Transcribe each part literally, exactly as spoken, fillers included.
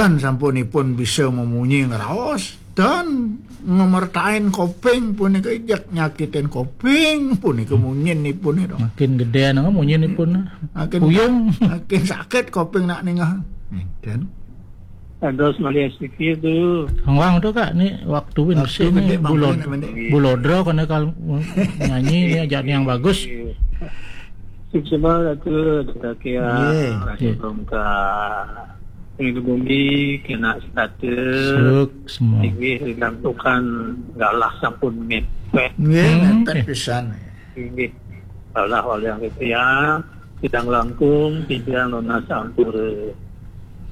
Ten sampunipun bisa memunyi ngraos, ten ngemertain koping punika jak nyakitin koping punika munyinipun ira. Makin gedé nang munyinipun. Makin puyung. Makin sakit koping nak ningah. Ten. Terus melihat sedikit tu. Hang wang tu, Kak, ni waktu win. Waktu bersih ni, gede, bulod-, bangkunya pendek. Bulodro kena kal nyanyi ni ajak ni yang bagus. Sukses banget tu, Dakia. Nggih. Langsung ke ini bumi, kena status. Suk semua. Tinggi digantukan galah sampun mepet. Nggih, hmm, mepet, eh, pisan. Tinggi. Galah waliang titiang, sidang langkung, titiang nunas ampura.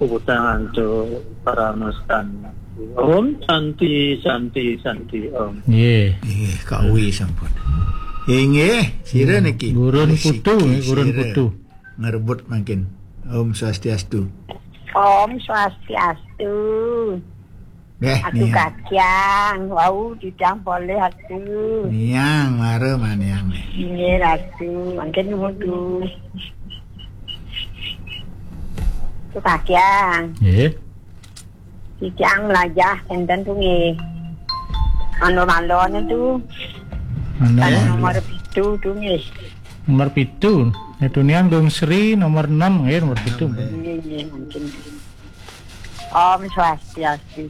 Puputang antuk para mestan. Om Santi, Santi, Santi, Om. Nggih. Nggih, kawi sampun. Inggih, sira niki. Gurun Masih Putu, siki nggih, Gurun sira. Putu. Ngerebut mangkin. Om Swastiastu. Om Swastiastu. Nggih, aku niang. Kacang, wau didang boleh aku. Niang, mara maniang. Nggih, Ratu. Mangkin nuwun. Aku kacang. Nggih. Titiang melajah enten tu nggih. Anu malon tu. Anu. Kalau malon. Nomor pitu tu nggih. Nomor pitu. Itu nian Gung Sri nomor enam nggih, nomor pitu. Enam, nggih. Nggih, nggih, mungkin. Om Swastiastu.